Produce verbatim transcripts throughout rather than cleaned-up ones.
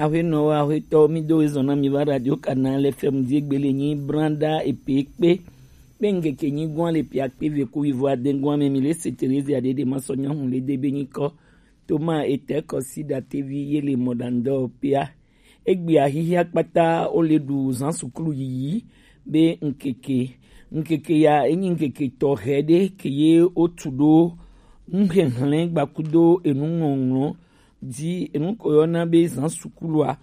Aƒenɔwo, aƒetɔwo, mi do ezɔn na mi va Radio Canal F M di egbele nyi branda epe kpe. Kpe ŋkeke nyi gwan le pia kpe ve ku wivo aden gwan me mi le se Terezia de de ma sɔ nyahu le de be nyi kɔ. Toma etɛ kɔ si da tevi ye le mɔdandɔ pia. Egbea xixia kpata wo le ɖu zan suklu yiyi be ŋkeke. Ŋkeke ya enyi ŋkeke tɔxɛ ɖe ke ye wotu ɖo nuxexlẽ gbakudo enuŋɔŋlɔ di enu ko yɔna be zan sukulua.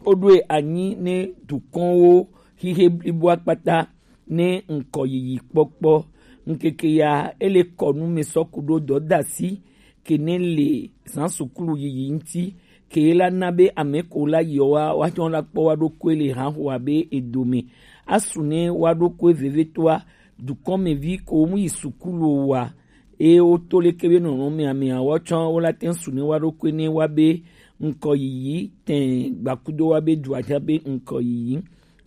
Woɖoe anyi ne dukɔnwo xixe bliboa kpata ne ŋkɔ yiyi kpɔkpɔ. Ŋkeke ya ele kɔ nu me sɔ ku ɖo dɔdasi ke ne le zan sukulu yiyi ŋuti, ke la na be ame ko la yi wa wa tsɔ la kpɔ wa ɖokui le hã hoa be edome. Asu ne wa ɖokui vevetoa dukɔmevi ko mu yi sukulu wa, eye woto leke be nɔnɔme amea woatsɔ wo la te ŋu su ne wa ɖokui ne wa be ŋkɔ yiyi tɛ gbakudo wa be dua tsã be ŋkɔ yiyi.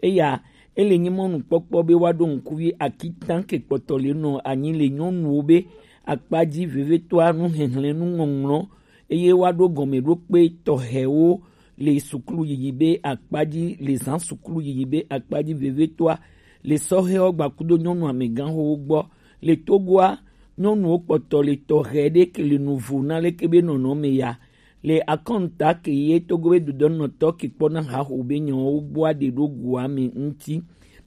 Eya ele nyi mɔnukpɔkpɔ be wa ɖo ŋkuvi akitã ke kpɔtɔ le nɔ anyi le nyɔnuwo be akpa dzi vevetoa nuxexlẽ nuŋɔŋlɔ, eye wa ɖo gɔmeɖokpe tɔxɛwo le sukulu yiyi be akpa dzi, le zan sukulu yiyi be akpa dzi vevetoa le sɔhɛwo gbakudo nyɔnu amegãxowo gbɔ. Le Togoa, nyɔnuwo kpɔtɔ le tɔxɛ ɖe ke le nuvo na leke be nɔnɔme ya. Le akɔnta ke ye Togo be dudɔnɔtɔ ke kpɔna haxo be nyawo gbɔa ɖe ɖo goa me ŋuti.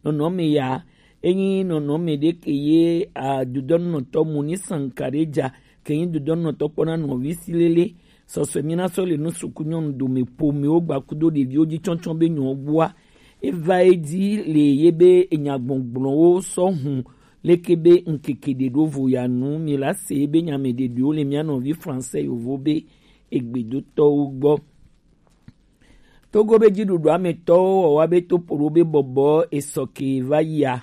Nɔnɔme ya enyi nɔnɔme ɖe ke ye a dudɔnɔtɔ Moni Sankareja ke nyi dudɔnɔtɔ kpɔna nɔvi si lele. Sɔsɔe mi na sɔ le nu suku nyɔnu dome pomewo gbakudo ɖeviwo dzi tsɔtsɔ be nyawo gbɔa. Eva edzi le ye be enyagbɔgblɔwo sɔ hun leke be ŋkeke ɖe ɖo vo ya nu mi la se be nyame ɖeɖewo le mia nɔvi français yovo be egbedotɔwo gbɔ. Togo be dziɖuɖua me tɔwo wɔwa be topoɖo be bɔbɔ esɔke va yia,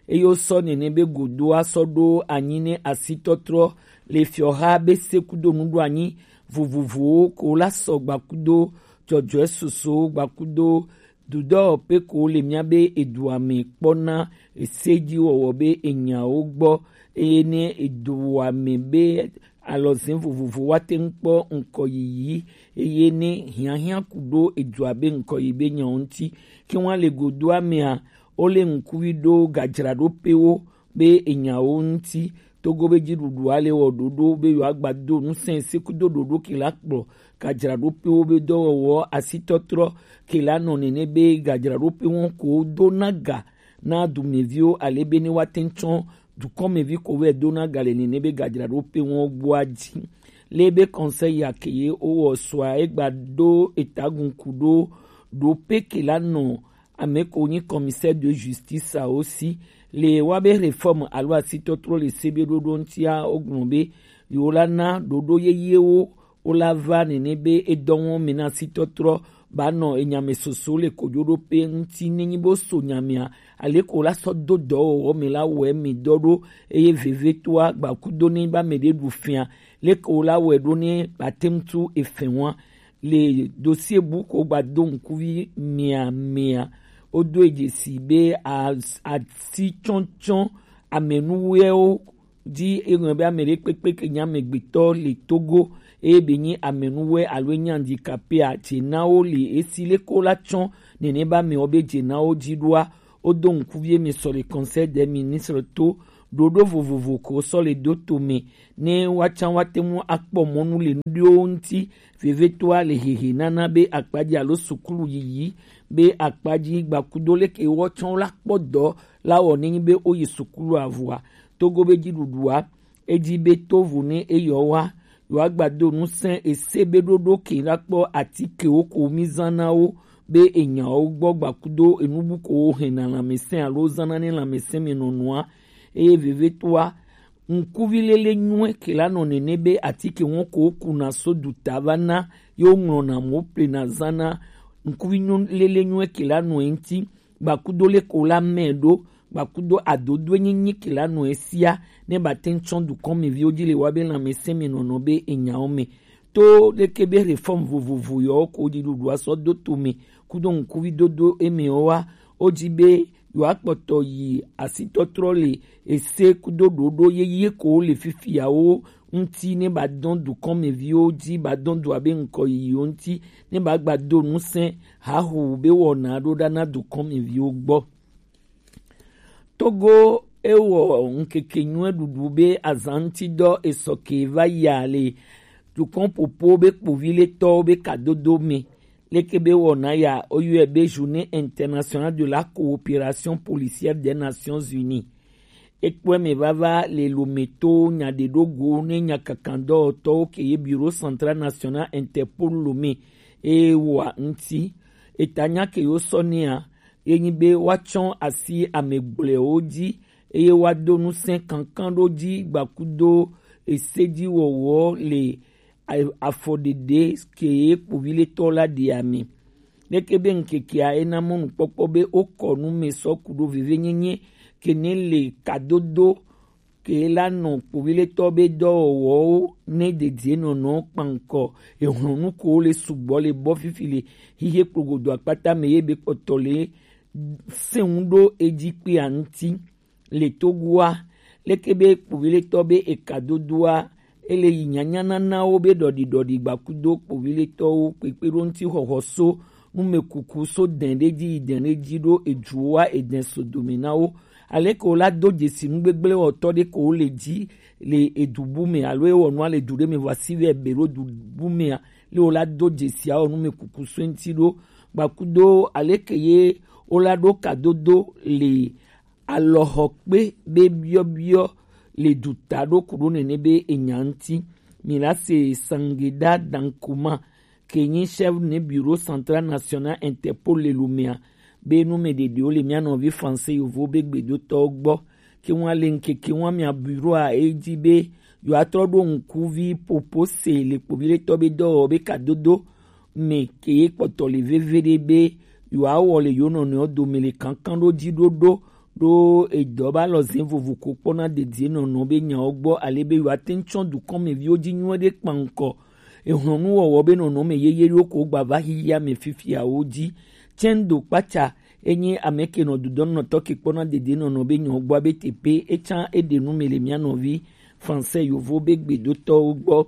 eye wosɔ nene be godoa sɔ ɖo anyi ne asitɔtrɔ le fiɔha be se kudo nuɖoanyi vovovowo ko la sɔ gbakudo dzɔdzɔe soso gbakudo dudɔ pe ko le mia be edua me kpɔna ese dzi wɔwɔ be enyawo gbɔ, eye ne edua me be alɔzẽ vovovo wa te ŋu kpɔ ŋkɔ yiyi, eye ne hiahiã ku ɖo edua be ŋkɔ yi be nyawo ŋuti. Ke wa le godoa mea, wo le ŋkuvi ɖo gadzraɖoƒewo be enyawo ŋuti. Togo be dziɖuɖua le wɔ ɖoɖo be yewoagba do ŋusẽ se kudo ɖoɖo ke la kplɔ gadzraɖoƒewo be dɔwɔwɔ asitɔtrɔ ke la nɔ nene be gadzraɖoƒe wɔn ko dona ga na dumeviwo ale be ne woate ŋu tsɔ dukɔmevi ko vɛ dona ga le nene be gadzraɖoƒe wɔn gbɔa dzi. Le be conseil ya ke ye wowɔ sɔa egba do etagun ku ɖo ɖoƒe ke la nɔ ame ko nyi commissaire de justice awo si le wa be réforme alo asitɔtrɔ le se be ɖoɖo ŋutia wogblɔ be yewo la na ɖoɖo yeyewo wo la va nene be edɔ wɔm me na asitɔtrɔ ba nɔ enyame soso le kojoɖoƒe ŋuti nenyi bo so nyamea ale ko la sɔ do dɔwɔwɔ me la wɔe mi dɔ ɖo eye vevetoa gbakudo ne ba me ɖe ɖu fia le ko la wɔe ɖo ne ba te ŋu tu efɛ wa. Le dossier bu ko gba do ŋkuvi mia mia, wodo e dzesi be a- asi tsɔtsɔ amenuwɛwo dzi eŋlɔ be ame ɖe kpekpe ke nye amegbetɔ le Togo eye be nyi amenuwɛ alo enye handicapé a, dzenawo le esi le ko la tsɔ nene ba me wo be dzenawo dzi ɖoa, wodo ŋkuvi eme sɔ le conseil des ministres to ɖoɖo vovovo ko sɔ le do to me ne woatsã woate ŋu akpɔ mɔnu le nuɖewo ŋuti. Vevetoa le hehe nana be akpadzi alo sukulu yiyi be akpadzi gbakudo leke woatsã la kpɔ dɔ la wɔ nenyi be woyi sukulu avɔa. Togo be dziɖuɖua edi be tovo ne eyɔ wa yewoagba do ŋusẽ ese be ɖoɖo ke la kpɔ atikewo ko mi zã na wo be enyawo gbɔ gbakudo enubu ko wo hɛna lãmesẽ alo zãna ne lãmesẽ me nɔnɔa. Eye vevetoa ŋkuvi lele nyuie ke la nɔ nene be atike wɔn ko wokuna so duta va na ye woŋlɔna mo plena zana. Ŋkuvi nyo- lele nyuie ke la nɔ eŋti gbakudo le ko la mɛ ɖo gbakudo adodoe nyinyi ke la nɔ esia ne ba te ŋu tsɔ dukɔmeviwo dzi le wa be lãmesẽ me nɔnɔ be enyawo me to leke be reform vovovo yɔwo ko dziɖuɖua sɔ do to me kudo ŋkuvi dodo eme wa wo dzi be yewoakpɔtɔ yi asitɔtrɔ le ese kudo ɖoɖo yeye ko le fifiawo ŋuti ne ba dɔn dukɔnmeviwo ji, ba dɔn dua be ŋkɔ yiyiwo ŋuti, ne ba gba do nusɛn hahu be wɔna ɖo ɖa na dukɔnmeviwo gbɔ. Togo ewɔ ŋkeke nyuie ɖuɖu be azan ŋuti dɔ esɔ ke va ya le dukɔn popo be kpoviletɔwo be kadodo me. Leke be wɔna ya, oyɔe be Journée internationale de la coopération policière des Nations Unies. Ekpɔe me vava le Lomé to nya ɖe ɖo go ne nya kankan dɔwɔtɔwo ke ye Bureau Central National Interpol Lomé e wa ŋuti. Eta nya ke yo sɔ nea, ye nyi be woatsɔ asi ame gblɔewo ji, eye woado ŋusẽ kankan ɖo ji gbakudo esejiwɔwɔ le a-, afɔɖeɖe ke ye kpoviletɔ la ɖea me. Leke be ŋkekea ena mɔnukpɔkpɔ be wokɔ nu me sɔ ku ɖo vevenyenye ke ne le kadodo ke la nɔ kpoviletɔ be dɔwɔwɔwo ne dedie nɔnɔ kpankɔ ehlɔnu ko le sugbɔ le bɔ fifi le hihe kplogodo akpata me ye be kpɔtɔ le sɛnwu ɖo edzi kpea ŋuti. Le Togoa, leke be kpoviletɔ be ekadodoa, ele yi nyanyananawo be ɖɔɖiɖɔɖi gbakudo kpoviletɔwo kpekpe ɖo ŋuti xɔxɔ so numekuku so dɛn ɖe ji yi dɛn ɖe ji ɖo eduwoa edɛn so dome na wo. Aleke wo la do dzesi nu gbegblẽ wɔtɔ ɖe ko wo le ji le edu bu me alo ewɔ nua le du ɖe me vɔ asi vɛ be ɖo du bu mea, le wo la do dzesi awɔ numekuku so ŋuti ɖo gbakudo aleke ye wo la ɖo kadodo le alɔxɔkpe be biɔbiɔ le duta ɖo ku ɖo nene be enya ŋuti. Mi la se Sangeda Dankuma ke nyi chef ne Bureau Central National Interpol le Lomea be nu me ɖeɖewo le mia nɔvi français yovo be gbedotɔwo gbɔ. Ke ŋua le ŋkeke ŋua mia bureau a e ji be yewoatrɔ ɖo ŋkuvi popo se le kpoviletɔ be dɔwɔwɔ be kadodo me ke ye kpɔtɔ le veve ɖe be yewoawɔ le yewo nɔnɔewo dome le kankan ɖo ji ɖoɖo ɖo edɔ ba lɔ zɛn vovo ko kpɔna dedie nɔnɔ be nyawo gbɔ ale be yewoate ŋu tsɔ dukɔnmeviwo ji nyuie ɖe kpankɔ ehlɔnuwɔwɔ be nɔnɔme yeye ɖewo ko gba va xixia me fifiawo ji. Tsɛndo kpatsa enye ame ke nɔ dudɔnɔtɔ ke kpɔna dedie nɔnɔ be nyawo gbɔ be tepe etsã eɖe nu me le mia nɔvi français yovo be gbedotɔwo gbɔ.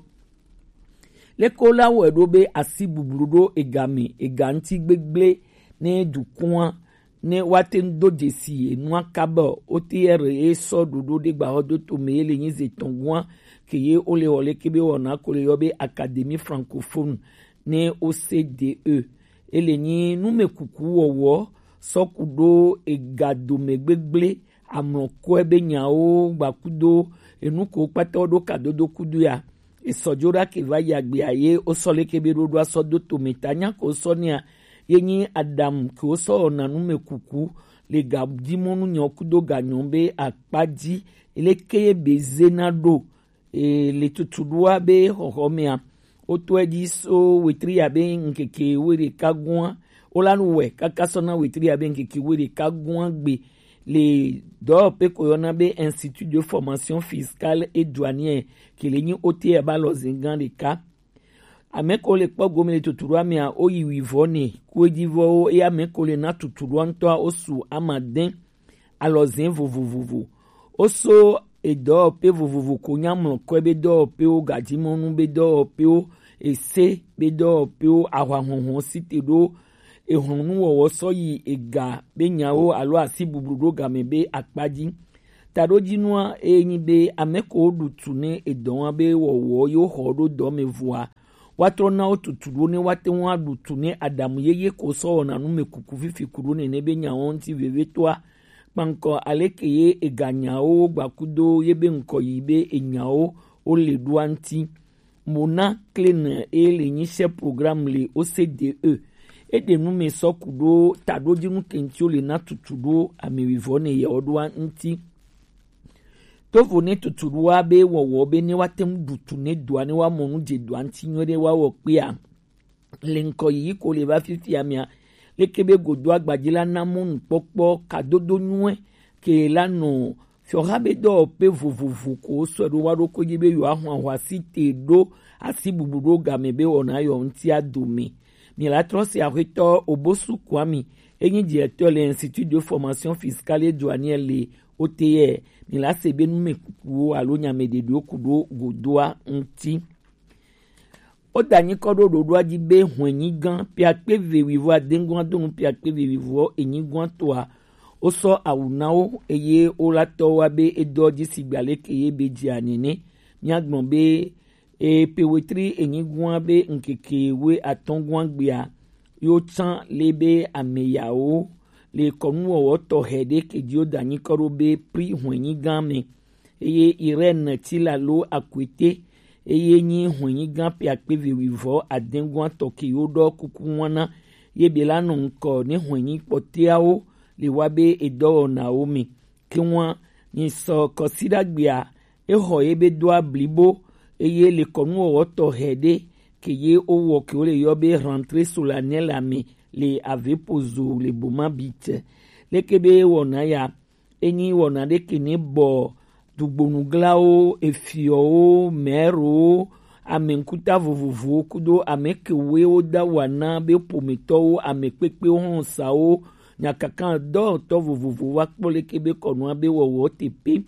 Leke wo la wɔe ɖo be asi bublu ɖo ega me, ega ŋuti gbegblẽ ne dukɔa ne woate ŋu do dzesi enua kaba o. O T R ye sɔ ɖoɖo ɖe gbaxɔdoto me ye le nyi ze tɔn gua ke ye wo le wɔ leke be wɔna ko le yɔ be Académie francophone ne O C D E. Ele nyi numekuku wɔwɔ sɔ ku ɖo ega dome gbegblẽ amlɔkɔe be nyawo gbakudo enu ko kpata wo ɖo kadodo kudo ya. Esɔ dzo ɖa ke va yi agbea ye wosɔ leke be ɖoɖoa sɔ do tome ta nya ko sɔ nea ye nyi Adam ke wosɔ wɔna numekuku le gadimɔnu nyɔ kudo ganyɔ be akpa ji leke ye be zena ɖo e, le tutuɖoa be xɔxɔ mea wotɔe dzi so wetri ya be ŋkeke wo ɖeka gua wo la nu wɛ kaka sɔ na wetri ya be ŋkeke wo ɖeka gua gbe le dɔwɔƒe ko yɔna be Institut de Formation Fiscale et Douanière ke le nyi O T R ba lɔ zin gã ɖeka. Ame ko le kpɔ gome le tutuɖoa mea wo yi wivɔ ne ku edzi vɔwo eye ame ko le na tutuɖoa ŋutɔa wo su amadɛn alɔzɛn vovovovo. Wo so edɔwɔƒe vovovo ko nya mlɔkɔe be dɔwɔƒewo, gadzimɔnu be dɔwɔƒewo, ese be dɔwɔƒewo, ahwahlɔnhlɔn site ɖo ehlɔnuwɔwɔ sɔ yi ega be nyawo alo asi bublu ɖo game be akpa ji. Taɖodzinua eye nyi be ame ko ɖu tu ne edɔ wa be wɔwɔ yewo xɔ ɖo dɔ me vɔa, woatrɔ na wo tutu ɖo ne woate ŋu aɖu tu ne aɖamu yeye ko sɔ wɔna nu me kuku fifi ku ɖo nene be nyawo ŋuti vevitɔa. Kpankɔ aleke ye eganyawo gbakudo ye be ŋkɔ yi be enyawo wo le ɖoa ŋuti. Mona Klein e le nyi chef programme le O C D E. E ɖe nu me sɔ ku ɖo taɖodzinu ke ŋuti wo le na tutu ɖo ame wivɔ ne yewo ɖoa ŋuti. Tovo ne tutuɖoa be wɔwɔ be ne woate ŋu ɖu tu ne dɔa ne woamɔ nu dze dɔa ŋuti nyuie ɖe woawɔ kpea, le ŋkɔ yiyi ko le va fifia mea, leke be godo agbadzi la na mɔnukpɔkpɔ kadodo nyuie ke la nɔ fiɔha be dɔwɔƒe vovovo ko sɔe ɖo wa ɖo ko dzi be yewoaxɔ ahɔasi te ɖo asi bublu ɖo game be wɔna yɔ ŋutia dome. Miela trɔ si axwetɔ Obosu Kwame, enyi directeur le Institut de Formation Fiscale et Douanière le O T R, mi la se be nu me kukuwo alo nya me ɖeɖewo ku ɖo godoa ŋuti. O da nyikɔ ɖo ɖoɖoa ji be hwɛnyigan piakpe ve wivo adengua donu piakpe ve wivo enyigua toa, o sɔ awu na wo eye o la tɔ wa be e dɔ ji sigba leke ye be ji anene. Mia gbɔn be e pe wetri enyigua be ŋkeke we atɔngua gbea yo tsan le be ameyawo le kɔnuwɔwɔ tɔxɛ ɖe ke ji o da nyikɔ ɖo be pri hwɛnyigan me. Eye Irène Tilalo Akwete, eye nyi hwɛnyigan piakpe ve wivo adengua tɔ ke yo ɖɔ kuku wana ye be la nɔ ŋkɔ ne hwɛnyi kpɔteawo le wa be edɔwɔnawo me. Ke wan ni sɔ kɔsiɖagbea e xɔ ye be doa blibo, eye le kɔnuwɔwɔ tɔxɛ ɖe ke ye o wɔ ke wo le yɔ be rentrée solennelle ame le Avepozo le Boma bite. Leke be wɔna ya, enyi wɔna ɖe ke ne bɔ dugbonuglawo, efiɔwo, mɛrowo, ame ŋkuta vovovowo kudo ame kewoe wo da wa na be ƒometɔwo, ame kpekpewo, xlɔsawo, nyakaka dɔwɔtɔ vovovowo wa kpɔ leke be kɔnua be wɔwɔ te pe.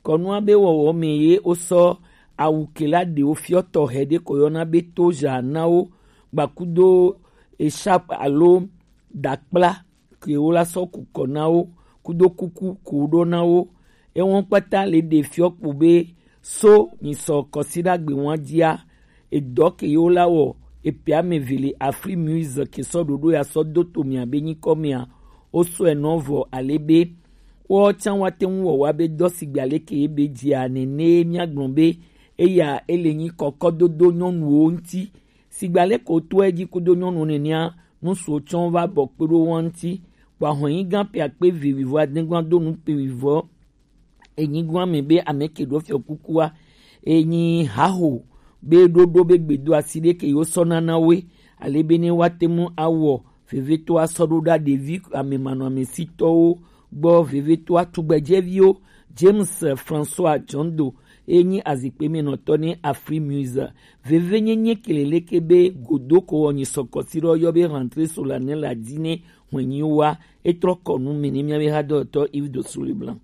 Kɔnua be wɔwɔ me ye wo sɔ awu ke la ɖewo fiɔ tɔxɛ ɖe ko yɔna be toja na wo, gbakudo echarpe alo dakpla ke wo la sɔ ku kɔ na wo, kudo kuku ko ɖo na wo. Ewɔn kpata le ɖe fiɔ kpo be so mi sɔ kɔsiɖagbe wan jia, edɔ ke ye wo la wɔ epe ame ve le Afri Muse ke sɔ ɖoɖo ya sɔ do to mia be nyikɔ mea, wo sɔe nɔ vɔ ale be wo tsan wa te ŋu wɔ wa be dɔ sigbe ale ke ye be jia nene mia gblɔ be eya ele nyi kɔkɔdodo nyɔnuwo ŋuti. Sigba leke wotɔe ji kudo nyɔnu nenea, nusu tsɔ va bɔ kpe ɖo wo ŋuti. Kpɔ ahɔnyigan pe akpe vivivo adegban do nu pe vivɔ enyigban me be ame ke ɖo fiɔ kukua, enyi haho be ɖoɖo be gbedo asi ɖe ke yo sɔ nana woe, ale be ne woate ŋu awɔ vevetɔ asɔ ɖo ɖa ɖevi ame manɔamesitɔwo gbɔ, vevetɔa tugbedzɛviwo. James François Jondo, ye nyi azikpe me nɔtɔ ne Afri Muse. Vevenyenye ke le leke be godoko wɔ nyi sɔkɔsi ɖɔ yɔ be rentrée solennelle la di ne hwenyi wa, etrɔ kɔ nu me ne mia be hadɔtɔ Yves de Souliblanc.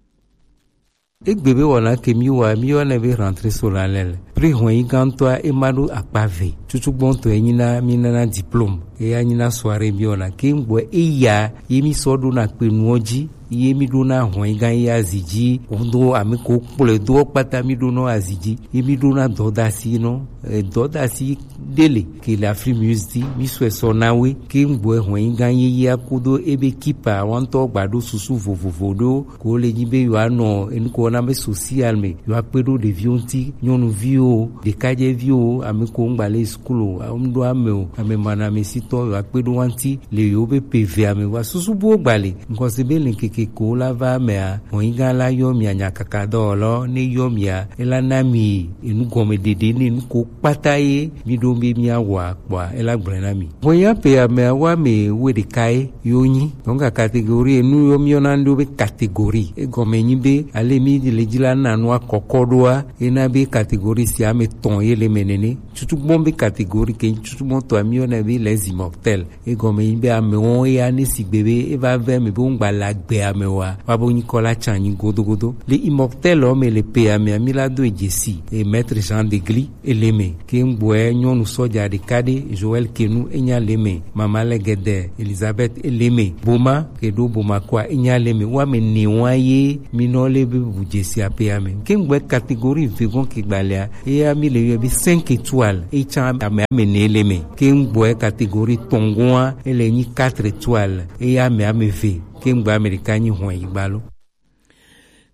Egbe be wɔna ke mi wa mi yɔnɛ be rentrée solennelle. Pri hwenyi gãtɔa ema ɖo akpa ve. Tutu gbɔntɔ enyi na mi nana diplôme. Eya nyi na soirée mi wɔna ke ŋgbɔ eya ye mi sɔ ɖo na kpe nuɔ ji. Ye mi ɖo na hɔn yi gã ye azi ji, do ame ko kplɔe do kpata mi ɖo nɔ azi ji. Ye mi ɖo na dɔdasi nɔ, eh, dɔdasi ɖe le ke le Afri Muse di, mi sɔe sɔ na we. Ke ŋgbɔe hɔn yi gã ye ye akodo ebe kipa wantɔ gba ɖo susu vovovo ɖo ko le nyi be yo anɔ enu ko na be social me, yo akpe ɖo ɖeviwo ŋuti, nyɔnuviwo, ɖekadzeviwo, ame ko ŋgba le school o, ŋɖo ame o, ame manɔamesitɔ, yo akpe ɖo wa ŋuti. Le yewo be pe vea me wa susu buwo gba le ŋkɔsi be le ŋkeke ko la va mea, hɔnyiga la yɔ mia nyakaka dɔwɔlɔ ne yɔ mia, ela na mi enu gɔme ɖeɖe ne enu ko kpata ye mi ɖo be mia wɔa kpɔa ela gblɔe na mi. Hɔnyiga pe amea wa me wo ɖeka ye yo nyi. Donc catégorie enu yo mi yɔna ɖo be catégorie. Egɔme nyi be ale mi le dzi la na nua kɔkɔ ɖoa, ena be catégorie sia ame tɔn ye le me nene. Tutugbɔn be catégorie ke tutugbɔn tɔ mi yɔna be les immortels. Egɔme nyi be amewo ya ne sigbe be eva ve me be ŋgba le agbe amewoa, wa bo nyikɔ la tsa nyi godogodo. Le immortel o me le pe ame ami la do dzesi e maître Jean Degli ele me. Ke ŋgbɔe nyɔnu sɔja ɖeka ɖe Joël Kenu enya le me. Mama le gede Elizabeth ele me. Boma ke ɖo Bomakoa enya le me. Wa me ne wa ye mi nɔ le be bu dzesi ape ame. Ke ŋgbɔe catégorie vegon ke gbalea eya mi le yɔ be cinq étoiles. Etsa ame ame ne le me. Ke ŋgbɔe catégorie tɔngoa ele nyi quatre étoiles. Eya ame ame ve. Ke ŋgbɔe ame ɖeka nyi hɔn yi gbalo.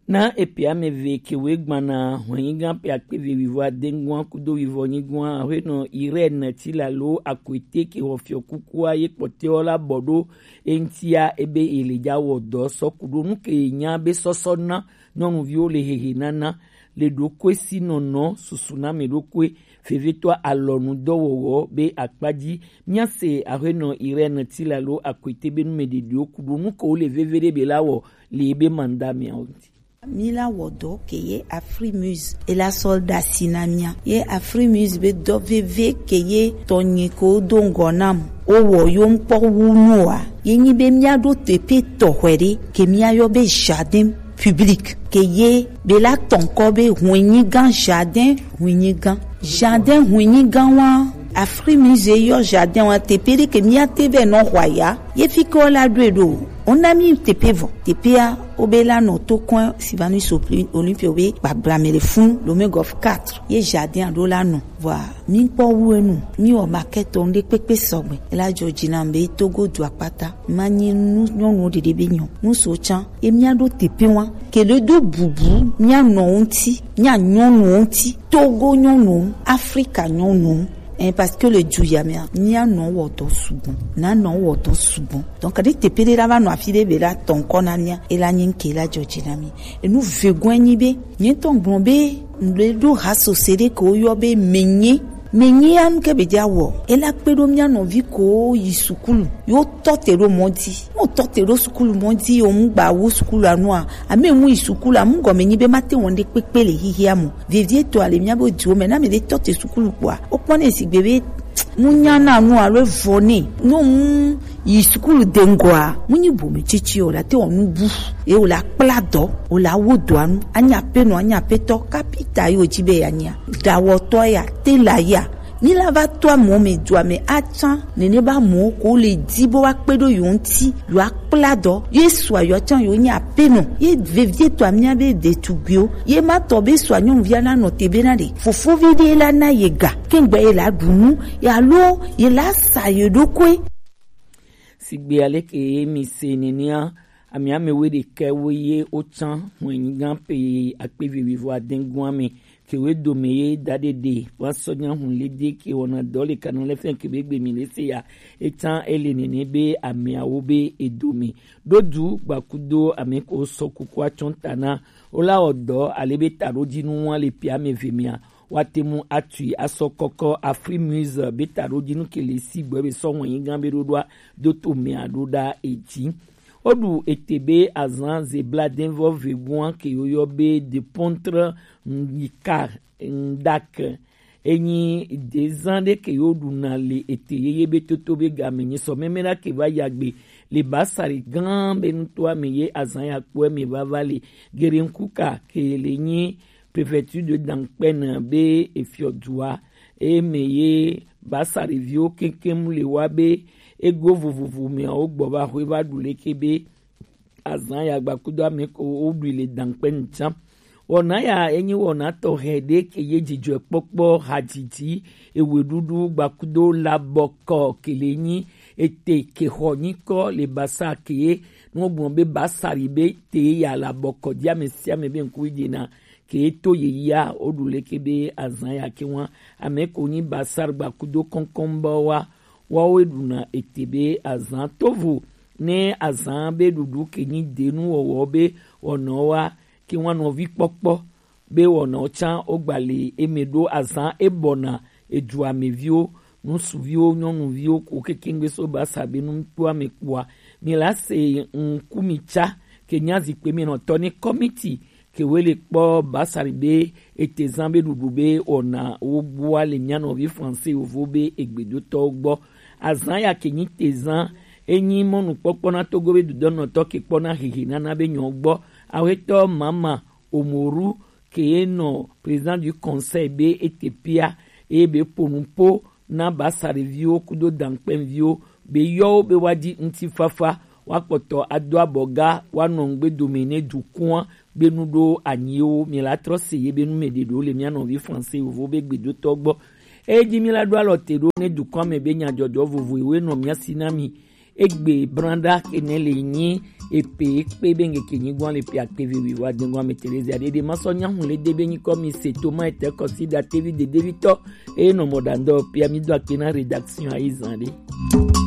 Na epe ame ve ke wo gbana hɔn yi gã pe akpe ve wivo adengua kudo wivo nyigua aƒenɔ Irène Tilalo Akwete ke xɔ fiɔ kukua ye kpɔtɛwo la bɔ ɖo eŋtia ebe ele dza wɔ dɔ sɔ ku ɖo nu ke nya be sɔsɔ na nyɔnuviwo le hehe nana le ɖokoe si nɔnɔ susu na me ɖokoe vevetɔa alɔnu dɔwɔwɔ be akpa ji. Mia se aƒenɔ Irène Tilalo Akwete be nu me ɖeɖewo ku ɖo nu ke wo le veve ɖe be la wɔ le ebe manda mea ŋuti. Mi la wɔ dɔ ke ye Afri Muse e la sɔ ɖasi na mia. Ye Afri Muse be dɔ veve ke ye tɔnye ko do ŋgɔ nam. O wɔ yo ŋkpɔ wu nu wa. Ye nyi be mia ɖo teƒe tɔxɛ ɖe ke mia yɔ be jardin. public ke ye be la tɔn kɔ be huenyigan, jardin huenyigan. Jardin huenyigan wa, Afri Musée yɔ jardin wa tepe ɖe ke mía te vɛ nɔ hwa ya. Ye fi ke wo la ɖo e ɖo. Wo na mi tepe vɔ. Tepe ya wo be la nɔ to kɔn Sylvanus Olympio be gbagbla me le fun Lomé Golf quatre. Ye jardin a ɖo la nɔ. Vɔa, mi kpɔ wu enu, mi wɔ maquette ŋɖe kpekpe sɔgbe. Ela jɔ dzi na be Togo du akpata. Ma nyi nu nyɔnuwo ɖeɖe be nyɔ. Nu so tsan. Ye mía ɖo tepe wa. Ke ɖe do bubu mía nɔwo ŋuti, mía nyɔnuwo ŋuti. Togo nyɔnuwo, Afrika nyɔnuwo. Eh, parce que le du ya mea, mía nɔ wɔ dɔ sugbɔ. Na nɔ wɔ dɔ sugbɔ. Donc, ɖe tepe ɖe la va nɔ afi ɖe be la tɔn kɔ na mía. Ela nyi ŋke la jɔ dzi na mi. Enu vegɔn nyi be, nye tɔn gblɔ be, ŋɖe ɖo ha sose ɖe ke wo yɔ be menye. Menye anu ke be dza wɔ. Ela kpe ɖo mía nɔvi ko yi sukulu. Yo tɔ te ɖo mɔ dzi. Mo tɔ te ɖo sukulu mɔ dzi, yo mu gba wu sukulu anua. Ame mu yi sukulu, amu gɔme nyi be ma te wɔn ɖe kpekpe le hihia mo. Vevie to ale mía be diwo me, na me ɖe tɔ te sukulu kpɔa. O kpɔ ne sigbe be, mu nya na nu alo vɔ ne. No mu yi sukulu de ŋgɔa, mu nyi bome tsitsi o la te wɔ nu bu. Ye o la kpla dɔ, o la wo dɔa nu. Anya pe nɔ, anya pe tɔ, kapita yo dzi be ya nya. Dawɔtɔ ya, tela ya. Mi la va to amewo me dua me atsan. Nene ba amewo ko le di bo wa kpe ɖo yo ŋuti, yo akpla dɔ. Yesu ayɔ tsan yo nya pe nɔ. Ye vevie to amia be detugbiwo. Ye ma tɔ be sua nyɔnuvia na nɔ te be na ɖe. Fofovi ɖe la na ye ga. Kengbe ye la ɖu nu. Ya lo ye la sa ye ɖokui. Sigbe aleke ye mi se nenea, ame ame we ɖekɛ wo ye wo tsan hwɛnyigan pe akpe vivi vɔ adɛngua me. Ke we dome ye da ɖeɖe wa sɔ nya hun le de ke wɔna dɔ le kana le fɛn ke be gbe mi le se ya. Etsan ele nene be ameawo be edome. Ɖo du gbakudo ame ko sɔ kuku atsɔn ta na. Wo la wɔ dɔ ale be taɖodinu wa le pia me ve mea. Wa te mu atui asɔ kɔkɔ Afri Muse be taɖodinu ke le si gbɔ be sɔ hwɛnyigan be ɖoɖoa do to mea ɖo ɖa edzi. Woɖu ete be azan zebla denvɔ veguan ke yoyɔ be de pontre ndika ndak. Enyi dezan ɖe ke yo ɖuna le ete yeye be toto be game nyi sɔ meme ɖa ke va yagbe le basari gan be nutoa me ye azan ya kpɔe me vava le. Gerenkuka ke le nyi préfecture de Dankpɛn be efiɔdua eye me ye basari viwo keŋkeŋ le wa be ego vovovo meawo gbɔ va xwe va ɖu leke be azan ya gbakudo ame ko woɖui le Dankpɛn tsã. Wɔna ya enyi wɔna tɔxɛ ɖe ke ye dzidzɔkpɔkpɔ hadzidzi eweɖuɖu gbakudo labɔkɔ ke le nyi ete ke xɔ nyikɔ le basa ke ye nuwo gblɔ be basari be te ya labɔkɔ di ame sia ame be ŋku yi dina ke to ye ya woɖu leke be azan ya ke wa ame ko nyi basari gbakudo kɔnkɔn bɔ wa wawo ɖuna ete be azan tovo ne azan be ɖuɖu ke nyi denu wɔwɔ be wɔnɔ wa ke wa nɔvi kpɔkpɔ be wɔnɔ tsã wogba le eme ɖo azan ebɔna edua me viwo ŋusuviwo nyɔnuviwo ko kekengbe so basa be nu kpɔa me kpɔa mi la se ŋku mi tsa ke nya zikpe mi nɔtɔ ne kɔmiti ke we le kpɔ basari be etezan be ɖuɖu be wɔna wo gbɔa le mia nɔvi français yovo be egbedotɔwo gbɔ. Azan ya ke nyi tezan enyi mɔnukpɔkpɔ na Togo be dudɔnɔtɔ ke kpɔ na hehe nana be nyɔ gbɔ. Awetɔ mama Omoru ke ye nɔ président du conseil be etepia eye be ponu po na basariviwo kudo dankpɛnviwo be yɔwo be wa di ŋutifafa wa kpɔtɔ ado abɔ ga wa nɔ ŋgbe dome ne dukɔa be nu ɖo anyiwo mi la trɔ se ye be nu me ɖe ɖo le mia nɔvi français yovo be gbedotɔ gbɔ. Eye dzi mi la ɖo alɔ te ɖo ne dukɔa me be nyadzɔdzɔ vovo ewe nɔ mia si na mi. Egbe branɖa kene le nyi epe ekpe be ŋgeke nyigɔn le pe akpe vivi wa dengɔn me Terezia ɖeɖe ma sɔ nyahu le de be nyikɔ mi se to ma ete kɔsi da tevi dedevitɔ eye nɔ mɔ ɖandɔ pia mi do akpe na rédaction ayi zan ɖe.